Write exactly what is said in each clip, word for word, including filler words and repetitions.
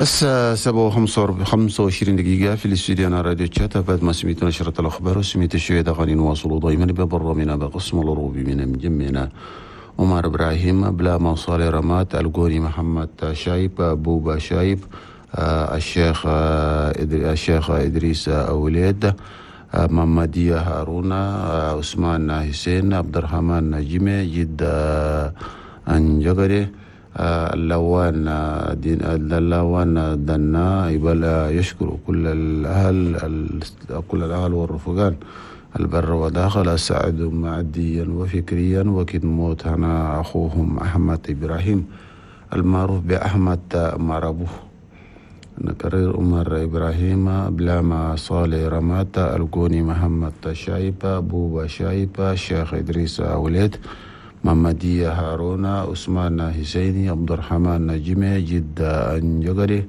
الساعة سبعة وخمسة وعشرين دقيقة في الاستوديو أنا راديو تشات. بعد ما سميت نشرة الأخبار وسميت الشوية أغاني نواصل دائما ببرنامجنا بقسم الروبي من مجمعنا عمر إبراهيم بلا صالح رمات الجوني محمد شايب بوبا شايب الشيخ الشيخ إدريس أوليد محمدية هارون عثمان حسين عبد الرحمن نجمي جد أنجغري اللوان دين اللوان دنا يشكر كل الأهل كل الأهل والرفقان البر وداخل سعدوا معديا وفكريا وكد موت هنا أخوهم أحمد إبراهيم المعروف بأحمد مرابو. نكرر عمر إبراهيم بلاما صالح رمات الجوني محمد شايب بوبا شايب الشيخ إدريس أوليد محمدية هارون عثمان حسيني عبد الرحمن نجمي جد أنجغري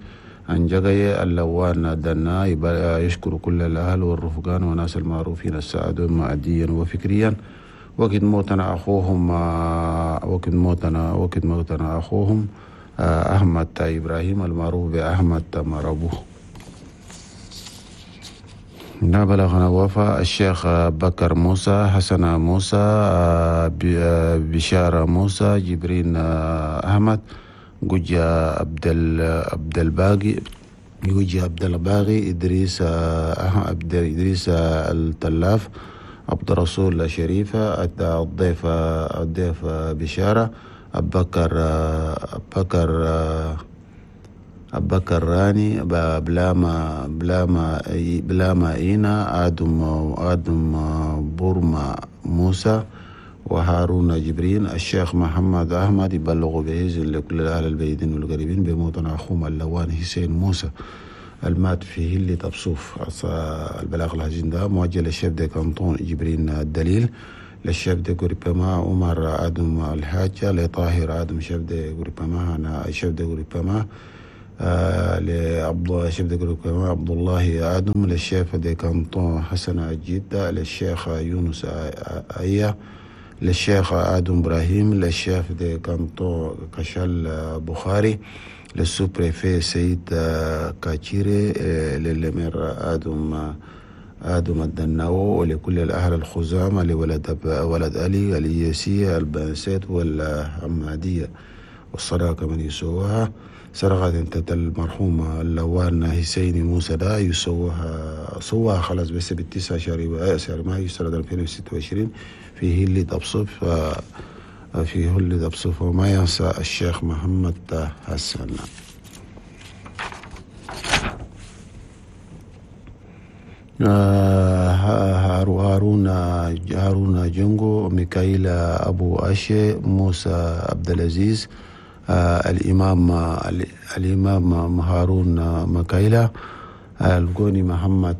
أنجغي اللوان دنا يشكر كل الأهل والرفقان وناس المعروفين السعدون معديا وفكريا وقت موتنا أخوهم وقت موتنا وقت موتنا أخوهم أحمد إبراهيم المعروف بأحمد مرابو. بلغنا وفاة الشيخ بكر موسى حسن موسى بشارة موسى جبرين أحمد جوجا عبد عبد الباقي جوجا عبد الباقي إدريس عبد إدريس التلاف عبد الرسول شريفة الضيف الضيف بشارة أبكر أبكر أبكر راني بلاما بلاما بلاما إينا آدم آدم بورما موسى وهارون جبرين الشيخ محمد أحمد يبلغ بإذن لكل الأهل البيدين والقريبين بموتنا أخوهم اللوان حسين موسى المات في هلي تبصوف. البلاغ الحزين ده موجه لل chef de canton جبرين الدليل لل chef de groupement عمر آدم الحاجة لطاهر آدم chef de groupement أنا chef de groupement آه لعبد chef de groupement عبد الله آدم لل chef de canton حسن الجدة للشيخ يونس أيا للشيخ آدم إبراهيم لل chef de canton كشال بخاري لل sous-préfet سيد كاتشيري لل maire آدم آدم الدناو ولكل الأهل الخزامة لولد ولد علي الياسية البنسات والحمادية والصداقة من يسوها سرقة انت المرحوم اللوان حسيني موسى دا يسوها سواها خلاص بس بالتسعة شهر شهر مايو سنة ألفين وستة وعشرين في هلي تبصف في هلي تبصف وما ينسى الشيخ محمد حسن. هارون هارون جنجو ميكائيل أبو أشي موسى عبد العزيز الإمام الإمام هارون مكايلة الجوني محمد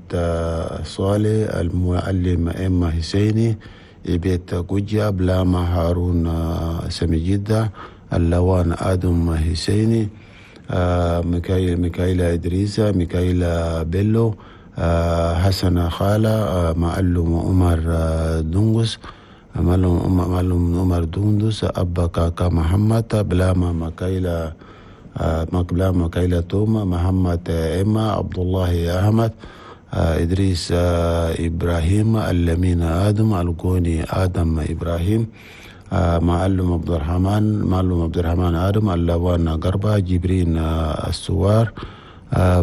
صالح المعلم إما حسيني بيت جوجا بلاما هارون سمجدة اللوان آدم حسيني ميكائيل ميكائيل إدريس ميكائيل بيلو حسن خالة معلم عمر دنغس معلم عمر دندس أبا كاكا محمد بلاما مكايلة بلاما مكايلة توما محمد إما عبد الله أحمد إدريس إبراهيم اللمين آدم الجوني آدم إبراهيم معلم عبد الرحمن معلم عبد الرحمن آدم اللوان قربة جبرين السوار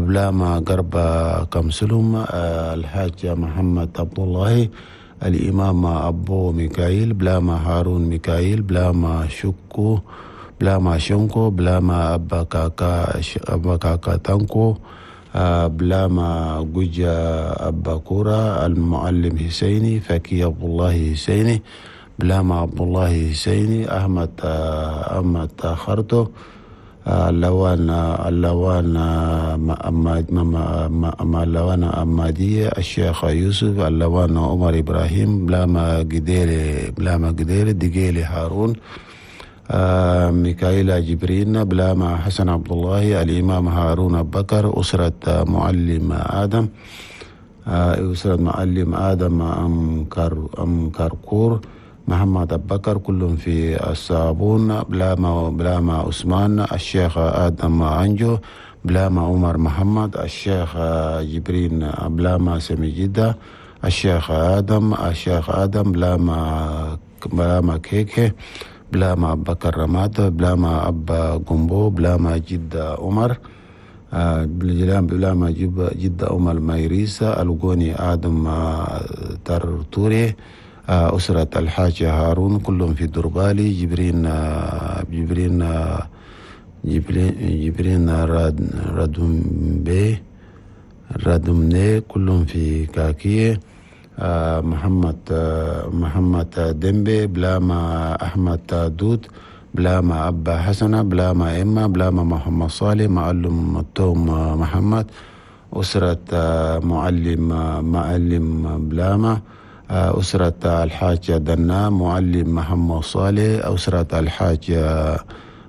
بلاما قربة كمسلم الحاج محمد عبد الله الإمام أبو ميكائيل بلاما هارون ميكائيل بلاما شكو بلاما شنكو بلاما أبا كاكا أبا كاكا تانكو بلاما جوجا أبا كورا المعلم حسيني فكي عبد الله حسيني بلاما عبد الله حسيني أحمد أحمد خرطو اللوان اللوان ما اللوان أمادية الشيخ يوسف اللوان عمر إبراهيم بلاما قديلي بلاما قديلي دقيلي هارون ميكائيل جبرين بلاما حسن عبد الله الإمام هارون بكر أسرة معلم آدم أسرة معلم آدم أم كار أم كاركور محمد أبكر كلهم في الصابون بلاما بلاما عثمان الشيخ آدم عنجو بلاما عمر محمد، الشيخ جبرين بلاما سمي جدة، الشيخ آدم الشيخ آدم بلاما بلاما كيكي، بلاما أبا كرمات، بلاما أبا قنبو، بلاما جدة عمر، بلاما جدة عمر مايريسا، الغوني آدم ترتوري، أسرة الحاج هارون كلهم في دربالي، جبرين جبرين جبرين جبرين رادومبي رادومني كلهم في كاكية، محمد محمد ديمبي، بلاما أحمد دود، بلاما أبا حسنة، بلاما إما، بلاما محمد صالح، معلم التوم محمد، أسرة معلم معلم بلاما، أسرة الحاج دنا، معلم محمد صالح، أسرة الحاج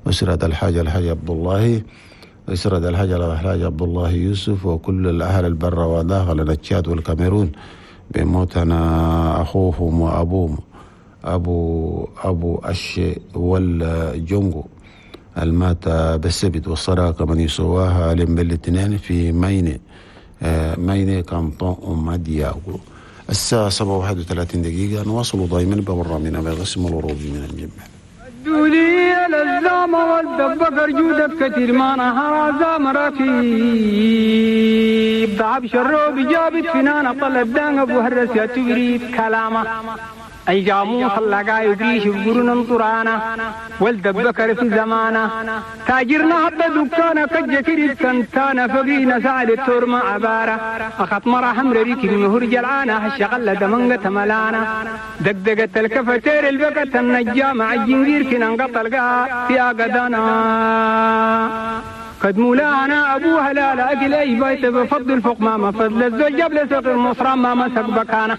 أسرة الحاج الحاج عبد الله، أسرة الحاج الحاج عبد الله يوسف، وكل الأهل البر وداخل التشاد والكاميرون بموتنا أخوهم وأبوهم أبو أبو أشي والجونغو المات بالسبت والصداقة من يسواها لمبلتنين في ميني ميني كانطون أمادياغو. الساعة سبعة وواحد وثلاثين دقيقة. نواصل دائما ببرنامجنا بقسم الوروبي من الجمع. دولي الزام والدبقر جودك كثير ما نهار زام ركيب ضعب شروب جابت فنان طلب دان ابو هرس يا تبريد كلامه اي جاموس اللقا يدريش بقرن طرانا والدبكر في زمانه تاجرنا حتى دكانا كجكري كنتانا فقينا سعد التور ما عبارة أخط مرة حمر ريكي مهر جلعانا هالشغلة دمنقة ملانا دقدقة الكفتير البكة النجام عالجنجير كنا انقطع القاء في أقدانا قد مولانا أبوها لا لا أكل أي بيت بفضل فوق ما ما فضل الزوج جبل سوق المصرى ما مسك بكانا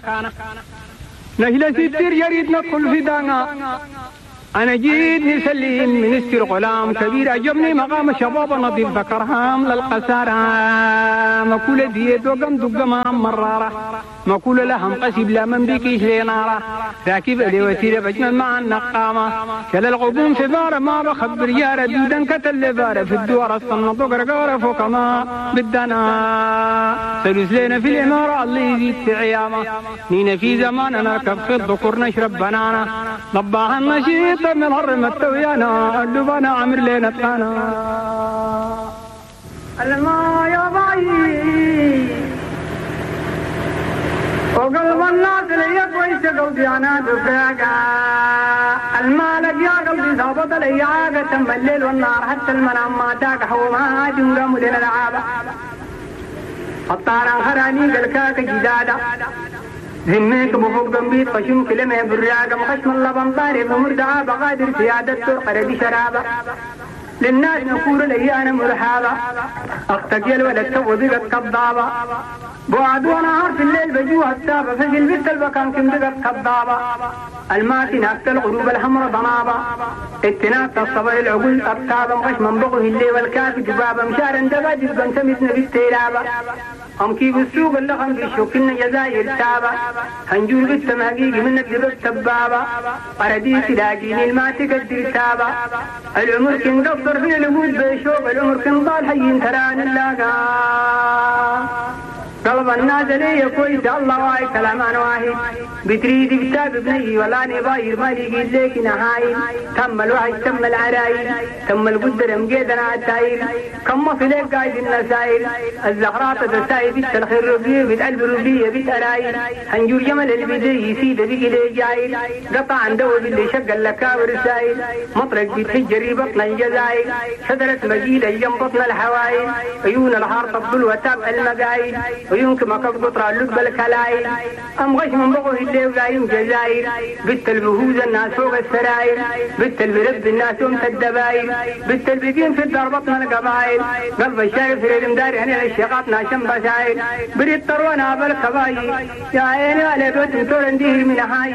نهلا ستير يريد ندخل في دانا أنا جيت نسلم منستر غلام كبير عجبني مقام شباب نظيف ذكرهام للقسارة مكولة ديت وقم دقمام مرارة مكولة لهم قسب لا من بكيش لنارة راكب لي وسيلة بجمل مع النقامة كلا الغبوم في بارة ما بخبر يارة دودا كتل بارة في الدوار الصنط وقرقارة فوق ما بدنا سلوس لنا في الإمارة الله يزيد في عيامة نينا في زماننا نركب في الذكور نشرب بنانا ضباها النشيط من هرم التويانا اللبانا عمر لنا تانا الما يا باي وقلب الناس لي كويس قلبي انا دفاقا المالك يا قلبي ظابط لي عاقة تم الليل والنهار حتى المنام ما تاك حوما جنقام لنا العابة الطاران خراني قلكاك جدادا ذميك بفوق ذنبيت خشم كلمة براقة مخشم اللبن طاري بمردعة بقادر سيادة ترقر بشرابة للناس نقول لي أنا مرحابة أختك يا الولد تو بقت كضابة بعد ونهار في الليل بجوها السابة فجل بنت البكان كم بقت كضابة الماسي ناكت الغروب الحمر ضنابة اتناكت الصبر العقول أبتابة مخش من بغه الليل والكافي دبابة مشارا دبا جبا سمتنا بالتيلابة أم كيف السوق اللغم بالشوكنا جزائر تابة هنجول بالتمهقيق منك لبس تبابة أرديس لاقيني الما تقدر تابة العمر كن قصر في الوجود بشوق العمر كن ضال حي تران اللاقا قلب الناس لي كويس الله واي كلام انا واحد بتريد كتاب بني ولا نباير ما لقيت لك نهايل تم الوحش تم العرايل تم القدر مقيدنا عالتايل كم في لك قايد النسايل الزهرات تساي بنت الخير ربيه بنت قلب ربيه بنت ارايل هنجور جمل البدي يسيد بقي لي جايل قطع عن دو باللي شق اللكاور السايل مطرق بيتحجري بطن الجزايل شجرة مجيلة جنب بطن الحوايل عيون الحار تبدل وتاب المقايل ويمكن ما قطر اللب الكلايل أم غش من بغوه اللي ولايم جزاير بنت البهوز الناس فوق السراير بنت البرب الناس يوم الدبايل بنت البقين في الدار بطن القبايل قلب الشايف في المدار هنا الشقات ناشم بشايل بريد طروانا بالكبايل يا عيني على بيت تورن ديه من هاي